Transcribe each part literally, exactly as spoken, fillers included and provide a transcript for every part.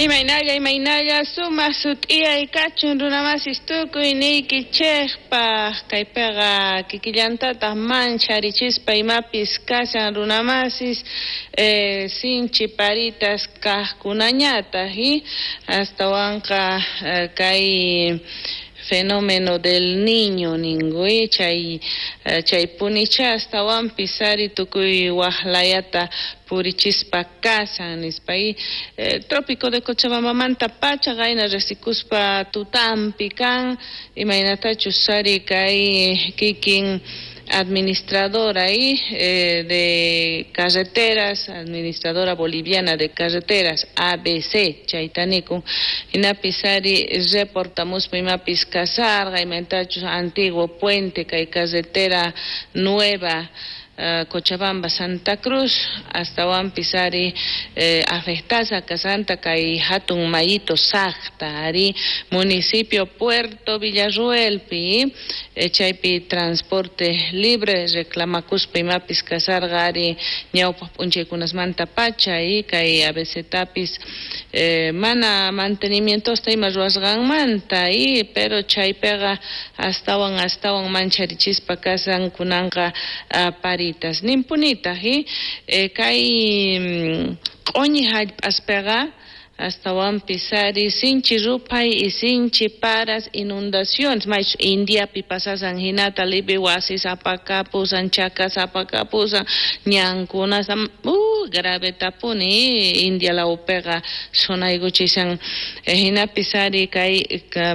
Imaynalla, imaynalla, sumaq sut'iyay kachun runamasis tukuy niykichejpaq. Kaypiqa kikillantataq mancharichispa imapis kashan runamasis eh, sinchi paritas kajkunañataq y astawanqa eh, kay fenómeno del niño ninku chay chay punicha astawanpis ari tukuy waqlayata purichispa kashan nispa y eh, trópico de Cochabambamanta pacha qayna riqsikuspa tutampi kan imaynatachus ari kay kikin administradora y eh, de carreteras, administradora boliviana de carreteras, A B C, chayta nikun, hinapis ari reportamuspa imapis kasarqa, imaynatachus antiguo puente kay carretera nueva Uh, Cochabamba, Santa Cruz, astawanpis ari eh, afectasa kasanta kay hatun mayito Sacta, ari municipio Puerto Villarruelpi, eh, chaypi transporte libre reclamakuspa imapis kasarqa ari ñawpaq p'unchaykunasmanta pacha y kay A B C tapis eh, mana mantenimientosta ima ruwasqanmanta y pero chaypiqa astawan astawan mancharichispa kasan kunanqa uh, pari nimpunitaq y eh, kay q'uñi hallp'aspiqa astawanpis ari sinchi ruphay y sinchi paras inundaciones maychus Indiapi pasasan hinata lipi wasis apakapusan chakas apakapusan ñankunas uh, gravetapuni India lawpiqa sunaykuchisan eh, hinapis ari kay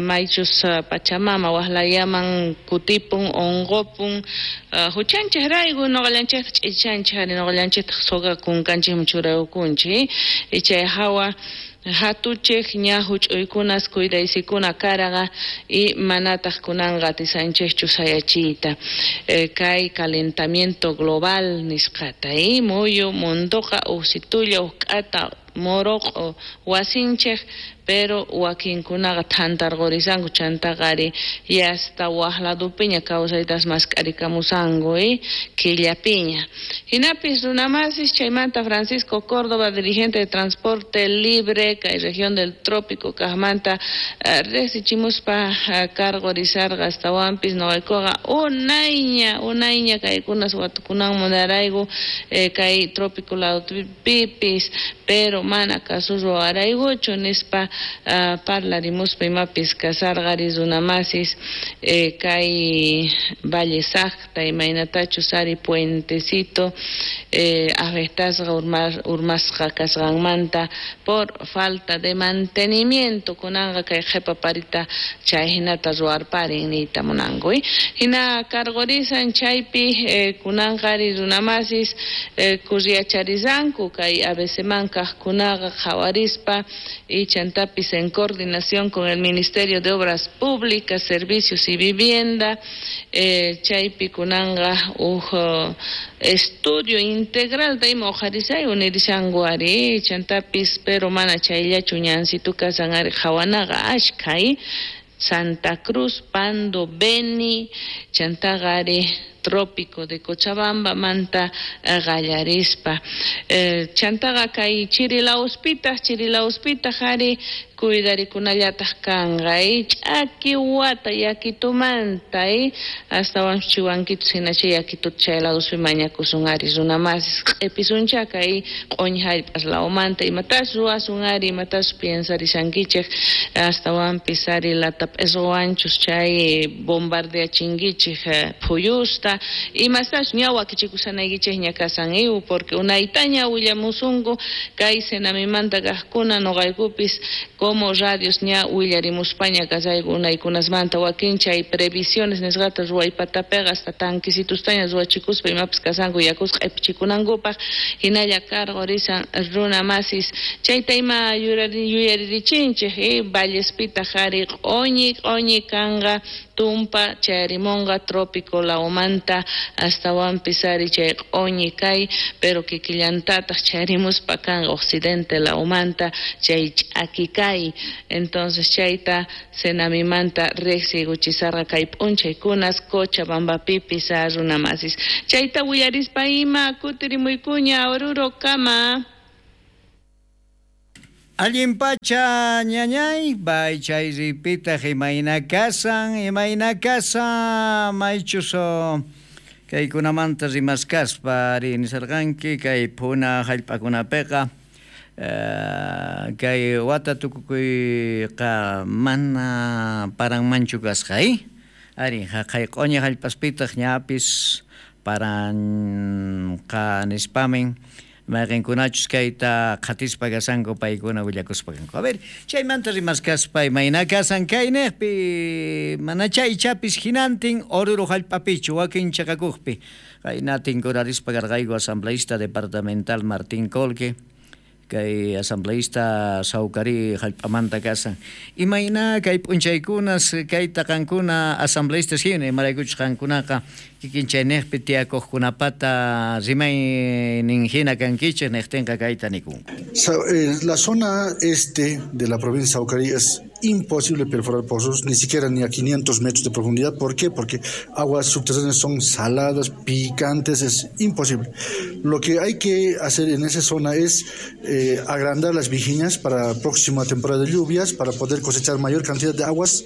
maychus Pachamama waqlayaman kutipun unqupun uh, huchanchik rayku nuqallanchikta ch'ichanchik ari nuqallanchiktaq soqa kunkanchikman churaykunchik y chay hawa hatuchik ña huch'uykunas cuidaysikuna karaqa y manataq kunanqa atisanchikchu sayachiyta eh, kay calentamiento global nisqata y muyu munduqa uqsitulla uqk'ata moroq'o wasinchik pero wakinkunaqa thantarqurisanku chantaqa ari yasta waq ladupiña kawsaytas mask'arikamusanku y killapiña. Hinapis runamasis chaymanta Francisco Córdoba, dirigente de Transporte Libre kay región del Trópico kaqmanta uh, riqsichimuspa uh, cargorizarqa astawanpis nuqaykuqa unayña unayña kaykunas watukunan munarayku eh, kay trópico ladupipis pero mana kasurruwaraykuchu nispa Uh, parlarimuspa imapis kasarqa ari runamasis eh, kay Valle Sacta imaynatachus ari puentecito eh, afectasqa urmar, urmasqa kasqanmanta por falta de mantenimiento kunanqa kay qhipa parita chay hinata ruwarparin niyta munanku eh? Hina cargorisan chaypi eh, kunanqa ari runamasis eh, kurriacharizanku kay A B C man kaqkunaqa qhawarispa y chantapis en coordinación con el Ministerio de Obras Públicas, Servicios y Vivienda, eh, chaypi kunanqa uj estudio integral de ima uqharisay unirishanku ari chantapis pero mana chayllachu ñansitu kasan ari qhawanaqa ashkha Santa Cruz, Pando, Beni, chantaqa ari Trópico de Cochabamba manta qallarispa eh, chantaqa kay Chirilauspitaq Chirilauspitaq ari cuidarikunallataq kanqa y ch'aki wata yakitumanta y astawan chiwankitus hinacha yakituta chay laduspi mañakusun ari runamasis q'ipisuncha kay q'uñi hallp'as lawmanta imatas ruwasun ari imatas piensarishankichik astawanpis ari latap'iswanchus chay bombardeachinkichik phuyusta imastas ña wakichikusanaykichikña kasan iw porque unaytaña willamusunku kay Senamimanta kaqkuna nuqaykupis como radios ña willarimuspaña kasayku unaykunasmanta wakin chay previsiones nisqata ruwaypatapiqa hasta tanquisitustaña ruwachikuspa imapis kasanku yakusqa q'ipichikunankupaq hinalla cargorisan runamasis chayta ima yuyaririchinchik eh, Vallespitaq ari q'uñi q'uñi kanqa tumpa chayarimunqa trópico lawmanta astawanpis ari chay q'uñi kay pero kikillantataq chayarimuspa kanqa occidente lawmanta chay ch'aki kay entonces chayta Senamimanta riqsiykuchisarqa kay p'unchaykunas Cochabambapipis runamasis chayta willarispa ima kutirimuykuña Oruro kama. Allin pacha ñañay, bay chay ripitaq imayna kasan, imayna kasan, maychus kaykunamanta rimaskaspa ari nisarqanki kay phuna hallp'akunapiqa kay wata tukukuyqa mana paranmanchu kasqa, eh? Ari haqay q'uñi hallp'aspitaq ñapis paranqa nispamin mayqinkunachus kayta qhatispa kasanku paykuna willakuspa kanku. A ver, chaymanta rimaskaspa imayna kasan kayniqpi mana chaychapis hinantin Oruro hallp'apichu wakin chaqakuqpi qayna tinkurarispa karqayku asambleísta departamental Martín Colque kay asambleísta Saucarí hallp'amanta kasan. Imayna kay p'unchaykunas kayta qankuna asambleístas hina imaraykuchus qankunaqa kikin chayniqpi tiyakuqkunapata rimaynin hina kankichik niqtinqa kayta nikunku. La zona este de la provincia de Saucarí es imposible perforar pozos, ni siquiera ni a quinientos metros de profundidad. ¿Por qué? Porque aguas subterráneas son saladas, picantes, es imposible. Lo que hay que hacer en esa zona es eh, agrandar las vijiñas para la próxima temporada de lluvias, para poder cosechar mayor cantidad de aguas.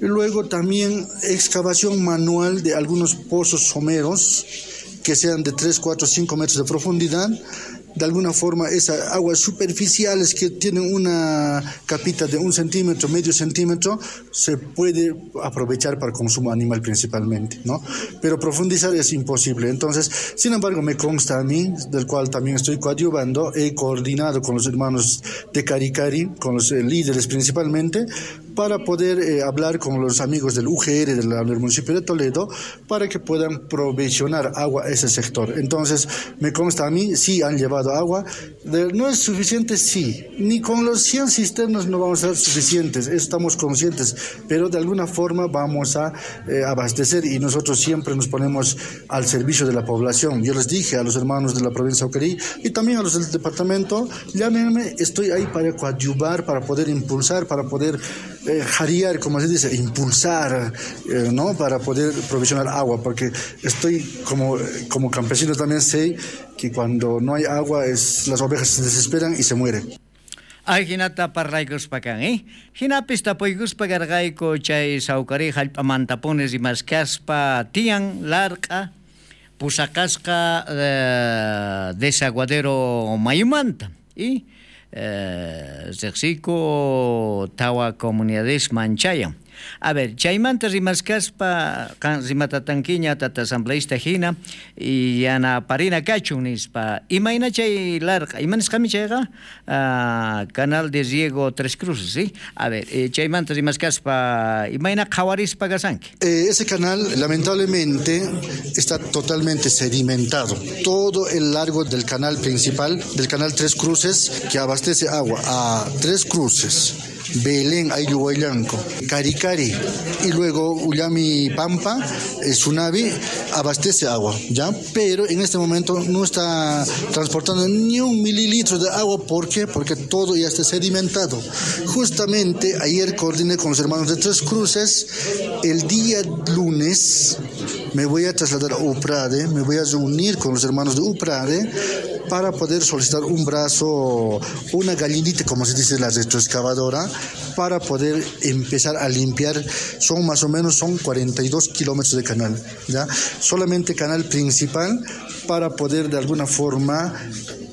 Y luego también excavación manual de algunos pozos someros que sean de tres, cuatro, cinco metros de profundidad. De alguna forma esas aguas superficiales que tienen una capita de un centímetro, medio centímetro, se puede aprovechar para consumo animal principalmente, ¿no? Pero profundizar es imposible. Entonces, sin embargo, me consta a mí, del cual también estoy coadyuvando, he coordinado con los hermanos de Caricari, con los eh, líderes principalmente, para poder eh, hablar con los amigos del U G R del, del municipio de Toledo para que puedan provisionar agua a ese sector. Entonces, me consta a mí, sí han llevado agua. De, no es suficiente, sí. Ni con los cien cisternas no vamos a ser suficientes, estamos conscientes, pero de alguna forma vamos a eh, abastecer y nosotros siempre nos ponemos al servicio de la población. Yo les dije a los hermanos de la provincia de Saucarí y también a los del departamento, llámenme, estoy ahí para coadyuvar, para poder impulsar, para poder eh, jarear, como se dice, impulsar, eh, ¿no? Para poder provisionar agua, porque estoy como, como campesino también sé que cuando no hay agua es, las ovejas se desesperan y se mueren. Ay, hinata parlaykuspa kan, eh? Hinapis tapuykuspa karqayku chay Saucarí hallp'amantapuni rimaskaspa tiyan larq'a pusaqasqa eh, desaguadero mayumanta y eh, riqsiku tawa comunidades manchayan. A ver, chaymanta rimaskaspa qan rimatatankiña tata asambleísta hina y yanaparina kachun nispa. Imayna chay larqa, ima nisqami chayqa? Uh, canal de riego Tres Cruces, ¿sí? A ver, eh, chaymanta rimaskaspa imayna qhawarispa kasanki. Eh, ese canal lamentablemente está totalmente sedimentado. Todo el largo del canal principal, del canal Tres Cruces, que abastece agua a Tres Cruces, Belén, Ayuhuayllanco, Caricari y luego Ullami Pampa, Sunavi, abastece agua, ¿ya? Pero en este momento no está transportando ni un mililitro de agua. ¿Por qué? Porque todo ya está sedimentado. Justamente ayer coordiné con los hermanos de Tres Cruces. El día lunes me voy a trasladar a Uprade, me voy a reunir con los hermanos de Uprade para poder solicitar un brazo, una gallinita, como se dice, la retroexcavadora, para poder empezar a limpiar. Son más o menos son cuarenta y dos kilómetros de canal, ¿ya? Solamente canal principal, para poder de alguna forma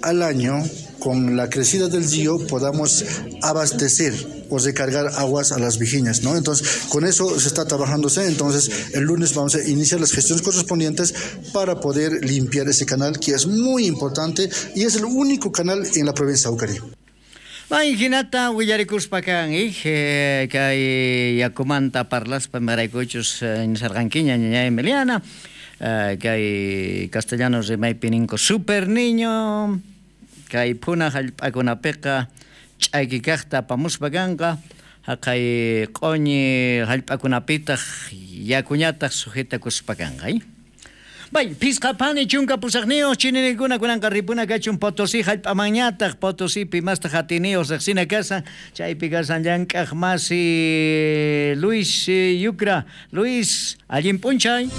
al año, con la crecida del río, podamos abastecer o recargar aguas a las vijiñas, ¿no? Entonces, con eso se está trabajándose. Entonces, el lunes vamos a iniciar las gestiones correspondientes para poder limpiar ese canal, que es muy importante y es el único canal en la provincia de Saucarí. May hinata willarikuspa kan, eh, kay yakumanta parlaspa maraykuchus nisarqankiña ñaña Emiliana, eh, kay castellano rimaypi ninku super niño, kay phuna hallp'akunapiqa ch'aki kaqta apamuspa kanqa, haqay q'uñi hallp'akunapitaq yakuñataq sujetakuspa kanqa, eh? Bay, pisqa pani chunka pusaqniyuq chininikuna kunanqa ripuna kachun Potosí hallp'amanñataq, Potosípi mastaq atiniyuq riqsina kasan, chaypi kasan llank'aq masi Luis Yucra. Luis, allin p'unchay.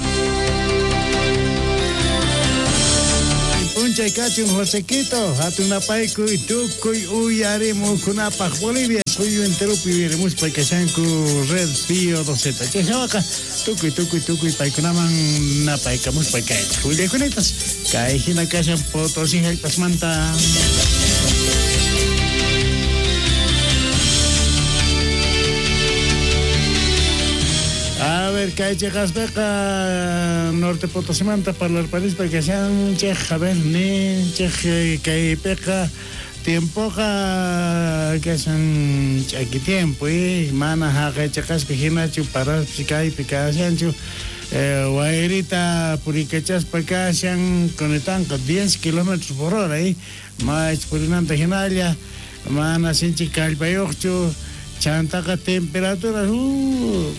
p'unchay kachun Josequito, hatun napaykuy tukuy uyarimukunapaq Bolivia suyu enteropi uyarimuspa kashanku Red Pío doce. Chayhawaqa tukuy tukuy tukuy paykunaman napaykamuspa kaychik. Willaykunatas kay hina kashan Potosí hallp'asmanta. A ver, kay cheqaspeqa Norte Potosimanta parlarparispa kashanchej, a ver, ninchej kaypiqa tiempoqa kashan ch'aki tiempo, eh, mana haqay cheqaspi hinachu paraspi kaypi kashanchu, eh, wayrita purikachaspa kashan kunitanqa diez kilómetros por hora, eh, mach purinanta hinalla, mana sinchi kallpayuqchu, chantaqa temperatura, uh,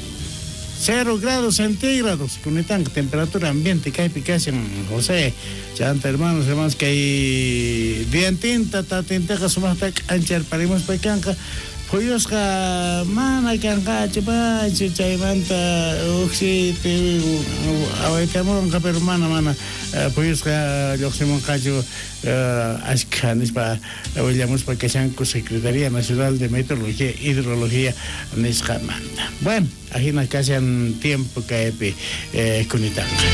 cero grados centígrados, kunitanqa temperatura ambiente kaypi kashan José, chanta hermanos, hermanos, kay diantinta tatintaqa sumaqta k'ancharparimuspa kanqa, phuyusqa mana kanqachu pachu chaymanta uqsiti awaytamunqa, pero mana mana phuyusqa lluqsimunqachu ashkha nispa willamuspa kashanku Secretaría Nacional de Meteorología e Hidrología nisqamanta. Bueno, ajina kashan tiempo kaypi eh, kunitanqa.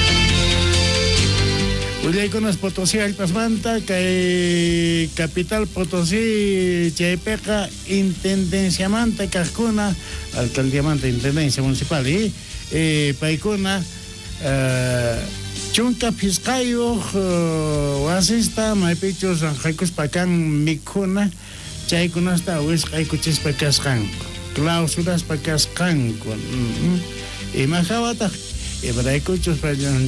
Willaykunas Potosí hallp'asmanta kay capital Potosí chaypiqa intendenciamanta kaqkuna alcaldiamanta intendencia municipal y eh, paykuna eh, chunka phisqayuq uh, wasista maypichus ranqaykuspa kan mikhuna chaykunasta wisq'aykuchispa kasqanku clausuraspa kasqanku mm-hmm. Imahawataq imaraykuchus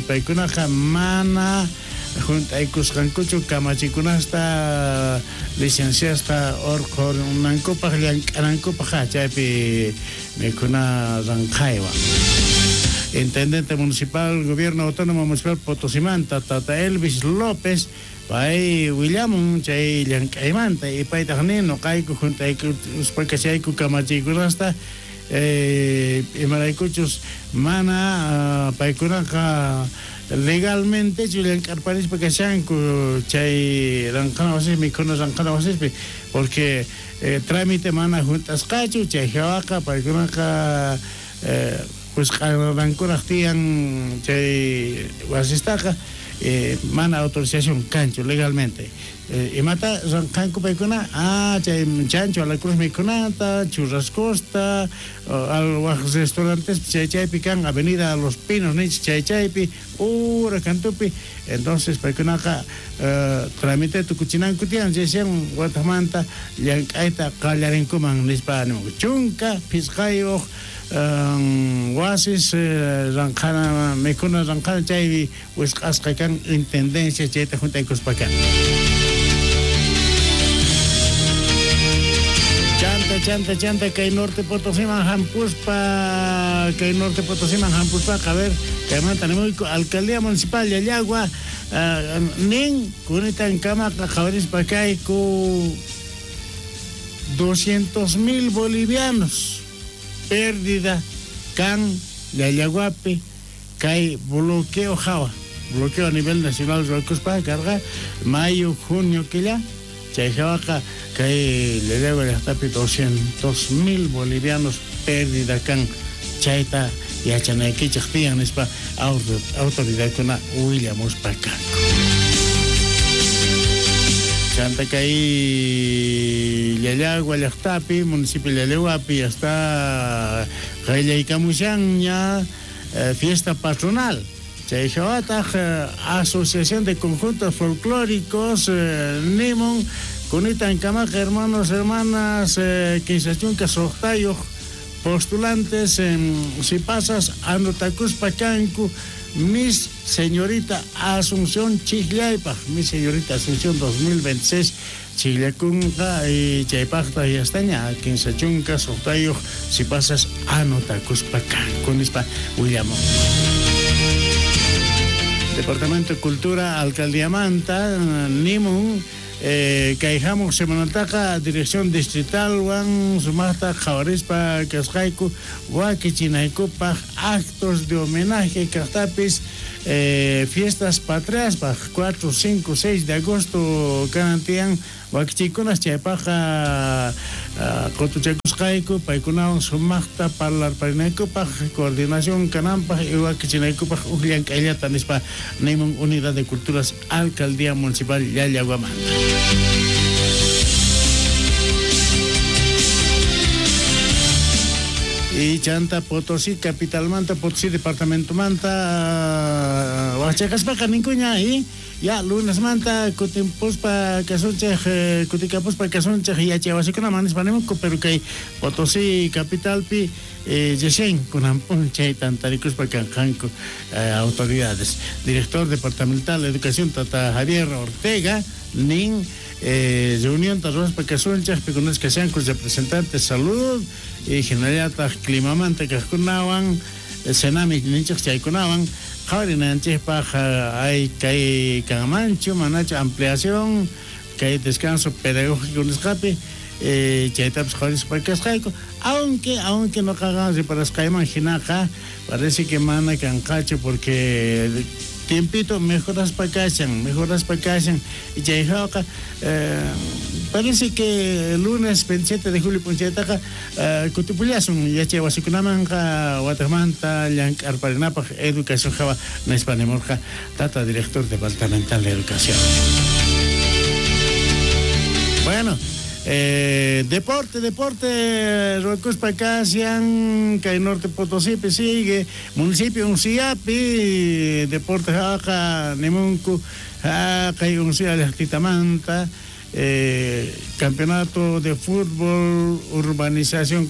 paykunaqa mana junt'aykusqankuchu kamachikunasta licenciasta urqhunankupaq llank'anankupaq chaypi mikhuna ranqaywan. Intendente municipal, Gobierno Autónomo Municipal Potosimanta, Tata Elvis López, pay willamun chay llank'aymanta y paytaq nin nuqayku junt'aykuspa kashayku kamachikunasta eh, imaraykuchus mana uh, paykunaqa legalmente llank'arparispa kashanku chay ranqana wasispi mikhuna ranqana wasispi porque eh, trámite mana junt'asqachu chay hawaqa paykunaqa eh, wisq'arankuraq tiyan chay wasistaqa eh, mana autorización kanchu legalmente. Eh, imata ranqanku paykuna ah chay chancho a la cruz mikhunata churrascosta al waj restaurantes chay chaypi kan avenida Los Pinos nich chay chaypi ura kantupi entonces paykunaqa eh, trámite tukuchinanku tiyan chaysian watamanta llank'ayta qallarinkuman nispa nimunku chunka phisqayuq Um, wasis eh, ranqana mikhuna ranqana chaypi wisq'asqa kan intendencia chayta juntaykuspa kan. Chanta chanta chanta kay Norte Potosiman hampuspa kay Norte Potosiman hampuspaqa a ver kaymanta nimuyku alcaldía municipal Llallagua uh, nin kunitan kamaqa qhawarispa kayku doscientos mil bolivianos pérdida kan Llallaguapi kay bloqueo hawa bloqueo a nivel nacional ruwakuspa karqa mayo junio killa chay hawaqa kay Llallagua llaqtapi doscientos mil bolivianos pérdida kan chayta yachanaykichik tiyan nispa autoridadkuna willamuspa kanku. Chanta kay Llallagua llaqtapi municipio Llallaguapi hasta qallaykamushanña eh, fiesta patronal chay hawataq eh, Asociación de Conjuntos Folclóricos eh, nimun kunitan kamaqa hermanos hermanas eh, kinsa chunka suqtayuq postulantes en si pasas anotakuspa kanku Miss Señorita Asunción Chijllaypaq, Miss Señorita Asunción dos mil veintiséis Chijllakunqa y chaypaqta yastaña kinsa chunka suqtayuq si pasas anotakuspa kanku nispa willamun. Departamento de Cultura Alcaldía Manta nimun Eh, kay hamuq semanataqa dirección distritalwan sumaqta qhawarispa kasqayku wakichinaykupaq actos de homenaje kaqtapis eh, fiestas patriaspaq cuatro, cinco, seis de agosto kanan tiyan wakichikunas chaypaqqa qutuchakusqayku paykunawan sumaqta parlarparinaykupaq coordinación kananpaq y wakichinaykupaq uj llank'ayllata nispa nimun Unidad de Culturas Alcaldía Municipal Llallaguamanta. Y chanta Potosí capitalmanta, Potosí departamentomanta, wachaqaspaqa ninkuña y ya lunesmanta kutimpuspa kasunchej kutikapuspa kasunchej yachaywasikunaman nispa nimunku, pero kay Potosí capitalpi recién kunan p'unchay tantarikuspa kanqanku autoridades. Director departamental de Educación Tata Javier Ortega nin eh, reunión ruwaspa kasunchej pikunas kashanku representantes salud y hinallataq climamanta kaqkunawan Senami ninchej chaykunawan qhawarinanchikpaq hay kay kanmanchu manachu ampliación kay descanso pedagógico nisqapi eh, chaytapis qhawarispa kasqayku, aunque aunque noqaqa reparasqayman hinaqa parece que mana kanqachu porque tiempito mejoraspa kashan, mejoraspa kashan y chayjawqa eh, parece que el lunes veintisiete de julio p'unchaytaqa eh, kutipullasun yachay wasikunamanqa wataqmanta llank'arparinapaq educación hawa nispa nimurqa tata director departamental de educación. Bueno, eh, deporte, deporte, ruwakuspa kashan, kay Norte Potosípi sigue, municipio Unciapi, deporte haqa nimunku, kay Uncia llaqtitamanta, eh, campeonato de fútbol, urbanización